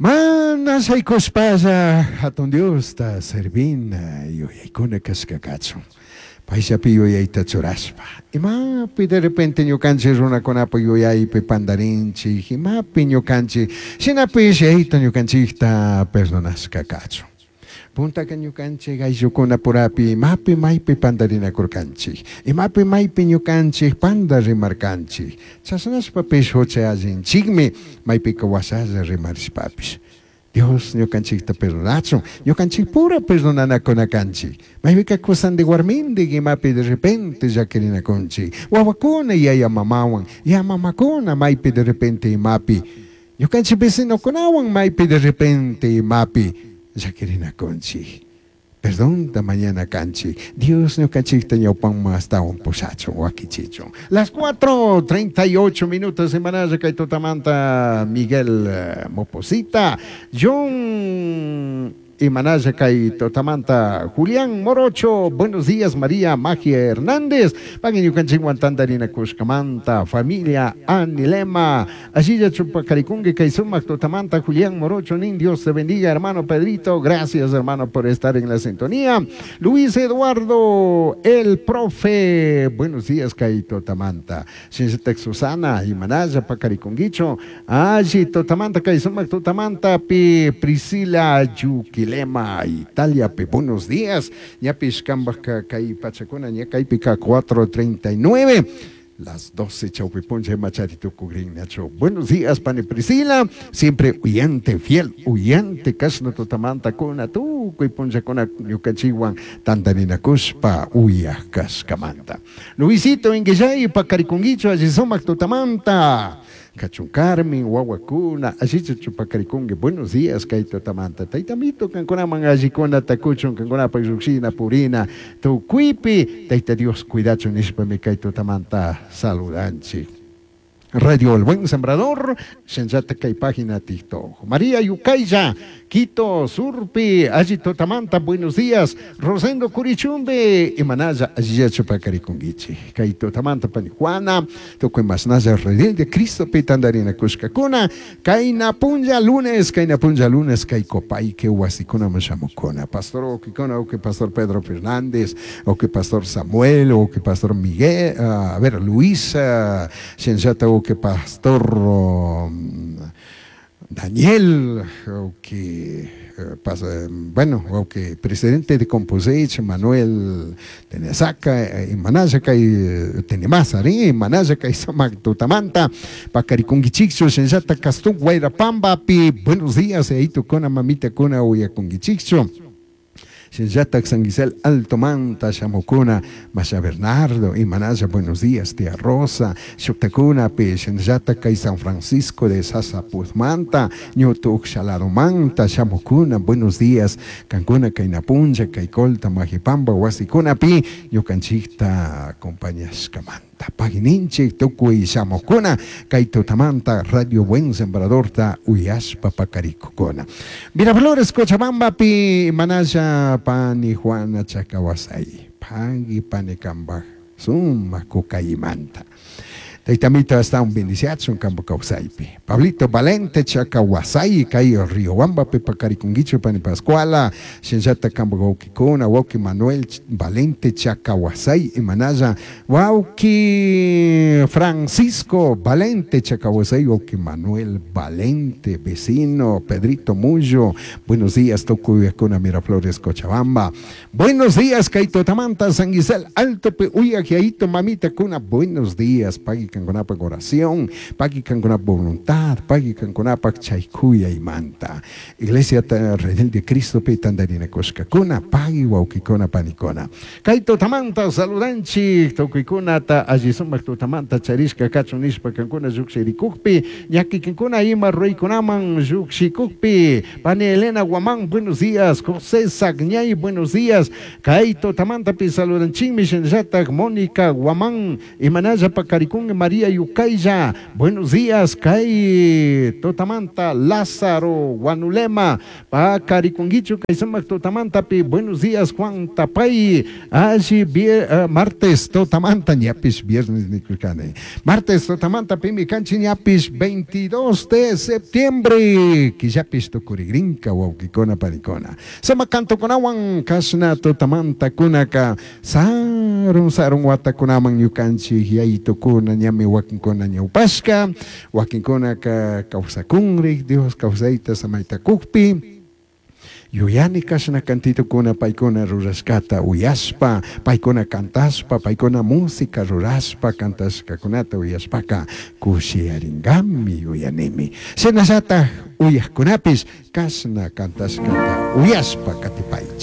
Mana shaykushpalla hatun Diosta servina yuyaykuna kashka kachun. Payllapi yuyayta churashpa. Imapi de repente ñukanchik runakunapa yuyaypi pandarinchik, imapi ñukanchik shinapish yayta ñukanchikta perdonashka kachun. Puntaka ñukanchik ayllukunapurapi imapi maypi pandarinakurkanchik, imapi maypi ñukanchik panda rimarkanchik. Chashnashpapish hucha allinchikmi maypika washalla rimarishpapish. Dios ñukanchikta perdonachun, ñukanchik pura perdonanakuna kanchik. Maypika kusandik warmindik imapi de repente llakirinakunchik. Wawakuna yaya mamawan, ya mamakuna maypi de repente imapi. Ñukanchik vecinokunawan maypi de repente imapi llakirinakunchik. Perdonta mañana kanchik. Dios ñukanchikta ñawpanman astawan pushachun, wakichichun. Las 4:38 minutos semanalla kay tutamanta Miguel Moposita, John Imanalla kay tutamanta Julián Morocho, buenos días María Magia Hernández, pagui ñukanchikwan tantarinakushkamanta, familia Anilema, allilla chupakarikunki kay sumak tutamanta Julián Morocho nin, Dios te bendiga hermano Pedrito, gracias hermano por estar en la sintonía. Luis Eduardo, el profe, buenos días kay tutamanta. Shinllatak Susana, Imanalla pakarikunkichu, alli tutamanta kay sumak tutamanta pi Priscila Yuquilema, Italia pi, buenos días. Ñapish kambajka kay pachakuna ña kaypika 4:39, las 12 chawpi puncha imachari tukukrin nachu. Buenos días pani Priscila, siempre uyante, fiel uyante, kashna tutamanta kuna tukuy punchakuna ñukanchikwan tantarinakushpa uyaj kashkamanta. Luisito Inguillay pakarikunkichu alli sumak tutamanta. Kachun Carmen, wawakuna, allichu chupakarikunki, buenos días kay tutamanta. Taytamito kankunaman allikuna takuchun, kankunapak llukshina purina tukuypi, Tayta Dios cuidachun nishpami kay tutamanta saludanchik. Radio El Buen Sembrador, shinllata kay página TikTok. María Yucaya, Quito, Surpi, alli tutamanta, buenos días. Rosendo Curichumbe, imanalla allilla chupakarikunkichik. Kay tutamanta pani Juana, tukuy masnalla Redil de Cristo pi tantarinakushkakuna, kayna punlla lunes, kayna punlla lunes, kay Copaique wasikunaman shamukuna. Pastor wawkikuna, wawki Pastor Pedro Fernández, wawki Pastor Samuel, wawki Pastor Miguel, a ver, Luis, shinllata wawki Pastor Daniel, wawki, bueno, wawki presidente de Composech, Manuel Tenesaca, imanalla kay Tenemasa, ri, imanalla kay sumak tutamanta, pakarikunkichikchu, shinllata Castún Guairapambapi, buenos días, aytukuna, mamitakuna, uyakunkichikchu. Shinllatak San Gisel Alto Manta, shamukuna, Masha Bernardo, imanalla, buenos días, tía Rosa, shuktakuna, pi, shinllatak kay San Francisco de Sasapuzmanta, ñutu Uxalaromanta, shamukuna, buenos días, kankuna, kay Napuncha, kay Colta, Majipamba, wasikuna, pi, ñukanchikta acompañashkamanta. Pagininchik tukuy shamukuna, kay tutamanta Radio Buen Sembradorta uyashpa pakarikukuna. Miraflores, Cochabamba, pi, manalla pani Juana Chacawasay, pagi pani kambaj, suma kukaymanta. Taytamito hasta un bendiciachun kambo kawsaypi. Pablito Valente Chacawasay, kay Riobamba pi pakarikunkichu pani Pascuala, shinllata kambo wawkikuna, wawki Manuel Valente Chacawasay, imanalla wawki Francisco Valente Chacawasay, wawki Manuel Valente, vecino Pedrito Mullo, buenos días, tukuyakuna Miraflores, Cochabamba. Buenos días, kay Totamanta, San Gisel, Alto pe, uyajiaito, mamita kuna, buenos días, pagi kankunapa oración, pagi kankunapa voluntad, pagi kankunapa chaykuya imanta. Iglesia Redil de Cristo pe tandarina kushkakuna, pagi wawkikuna panikuna. Kay tutamanta saludanchik, tukuykunata alli sumak tutamanta charishka kachun nishpa kankuna llukshirikukpi, ñakikankuna ima ruykunaman llukshikukpi. Pani Elena Guamán, buenos días. José Sagñay, buenos días. Kay tutamantapi saludanchikmi shinallatak Mónica Guamán, imanalla pakarikunki María Yucaylla. Buenos días, kay tutamanta Lázaro Guanulema. Pacarikunguichu kay sumak tutamantapi. Buenos días, Juan Tapay. Alli martes tutamanta ñapish viernes nikurkani. Martes tutamanta pimi kanchi ñapish 22 de septiembre. Killapish tukurigrinka wawkikuna panikuna. Sumak cantokunawan kashna tutamanta kunaka sarun sarun watakunaman ñukanchik yayitukuna ñami wakinkuna ñawpashka wakinkunaka kawsakunrik Dios kawsayta samayta kukpi yuyani kashna cantitukuna paykuna rurashkata uyashpa paykuna cantashpa paykuna música rurashpa cantashkakunata uyashpaka kushiyaringami yuyanimi shinallatak uyakkunapish kashna cantashkata uyashpa katipaychik.